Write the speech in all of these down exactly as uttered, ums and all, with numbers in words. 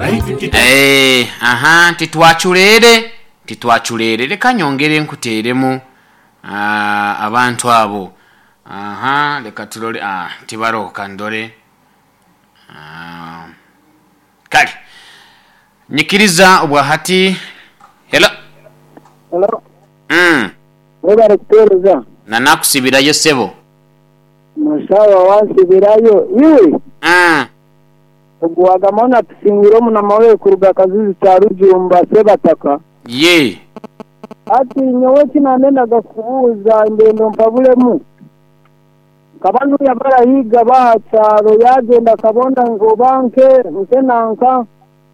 Eh, aha, titwaculeere titwaculeere leka nyongere nkuteeremu ah, abantu abo. Aha, leka tulole. Ah, tibaroho kandore. Ah, kale nyikiriza obwahati. Hello. Hello. mm. Webale kuteereza. Nanakusibirayo sebo. Musawa wansibirayo iwe. mm. Oguwagamona tusingire omunama we kuruga Kazizi kya Rujumba Sebataka. Ye. Ati nyowe kinanendaga kubuuza ndendo mpabulemu. Kabanu yabarahiga baha kyaro yagenda kabona ngoba nke nke nanka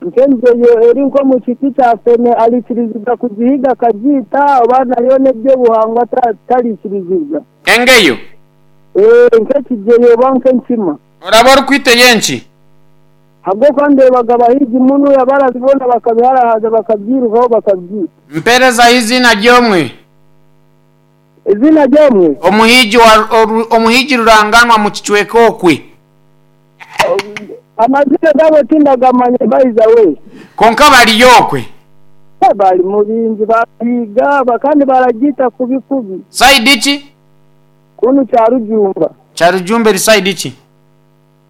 nkenjeyo eri nko mu kiti kya fene alikirizibwa kugihiga akagiita oba nayo n'ebyobuhangwa talikirizibwa. Engeyo. Eh, nkekijeyo oba nkenkima. Oraba orikwita yenki? Habwokuba ndebaga abahigi muno yabarabibona bakabiharahaza bakabyirukaho bakabyita. Mpereza izina ryomwe. Izina ryomwe? Omuhigi wa oru, omuhigi ruranganwa mu kicweka okwe. Amazina gabo tindagamanye bayiza we. Konka bali yokwe. Bali mu bingi bahiga bakandi baragita kubi kubi. Side ki? Kunu kya Rujumba. Kya Rujumba eri side ki?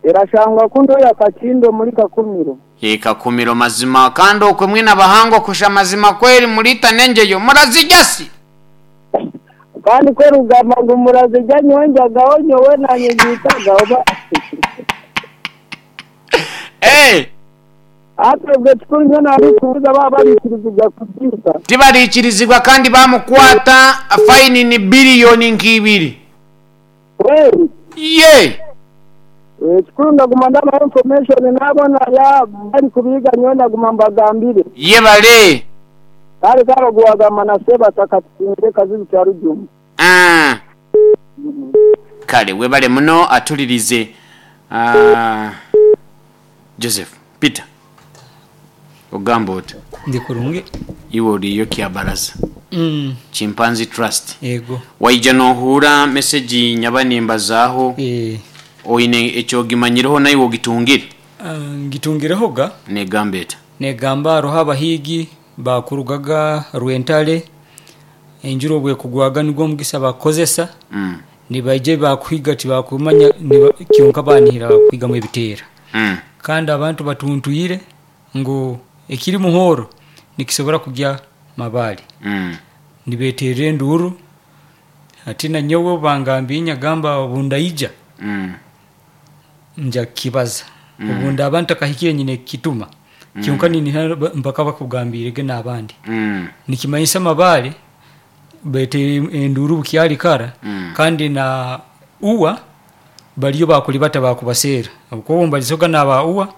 Erashangwa kundo ya Kakindo muri Kakumiro. Ye Kakumiro mazima kandi okwe mwina bahango kusha mazima kweri mulita nenjeyo murazijasi. Kandi kwe rugamba ngo murazijya nyonjagaho nyowe nanye ngitagaho ba. Eh. Atebwe tukunze nabikubuza baba barikirizibwa kubyita. Tibarikirizibwa kandi bamukwata faini ni biliyoni nkibiri. Kweli? Ye. Ekikuru ndaguma ndaba information nabona ya bari kubiga nyowe ndaguma mbagambire. Ye bale. Kale kabaguwagamba na Sebataka tusinze Kazizi kya Rujumba. Ah. Kale webale muno atulirize. Ah. Joseph Peter ogamba oti? Ndi kurungi. Iwe oriyo kyabaraza. Mm. Chimpanzee Trust. Yego. Waija nohura message nyabanimbazaho. Eh. Oine ekyogimanyireho naye ogitungire. Uh, ngitungireho ga? Negamba eta. Negamba aroho abahigi bakurugaga Rwentale enjuro bwe kugwaga nigwo mugisa bakozesa. Mm. Nibaije bakuhiga tibakumanya kyonka banihira kuhiga mu ebiteera. Mm. Kandi abantu batuntuyire ngo ekiri muhoro nikisobora kujya mabali. Mm. Nibeterere enduru ati na nyowe bangambi nyagamba obundaija. Mm. Nja kibaza. Mm. Obunda abantu akahikire nyine kituma. Mm. Kyonka nini mpaka bakugambirege n'abandi. Mm. Nikimanyisa mabali bete enduru bukyali kara. Mm. Kandi na uwa baliyo bakulibata bakubasera. Uko mbalisoga naba uwa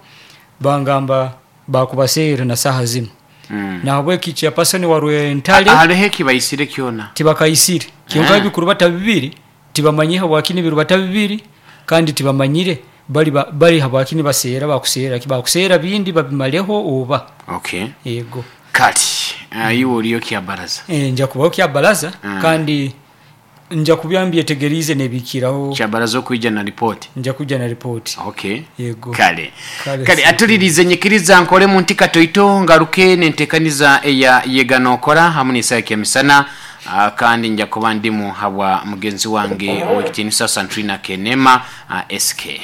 bangamba bakubasera na saha zino. Mm. Na habwe kicha pasoni warwe ntale. Halehe kibayisire kyona. Tibakayisire. Kyonka Ah. bikuru bata bibiri tibamanyiha wakini biru bata bibiri kandi tibamanyire bali ba, bali habakini basera bakusera kibakusera bindi babimaleho oba. Okay. Yego. Kati ayiwo oliyo kyabaraza. Eh, nja kubaho kyabaraza. Mm. Kandi nja kubyambye tegerize nebikiraho. Kyabaraza okwijja na report. Nja kujja na report. Okay. Yego. Kale. Kale. Kale atulirize nyikiriza nkole mu ntika toito ngaruke nentekaniza eya yeganokora hamwe n'isaya ya misana. Uh, kandi nja kuba ndimu habwa mugenzi wange owekitiinisa Santrina Kenema uh, S K.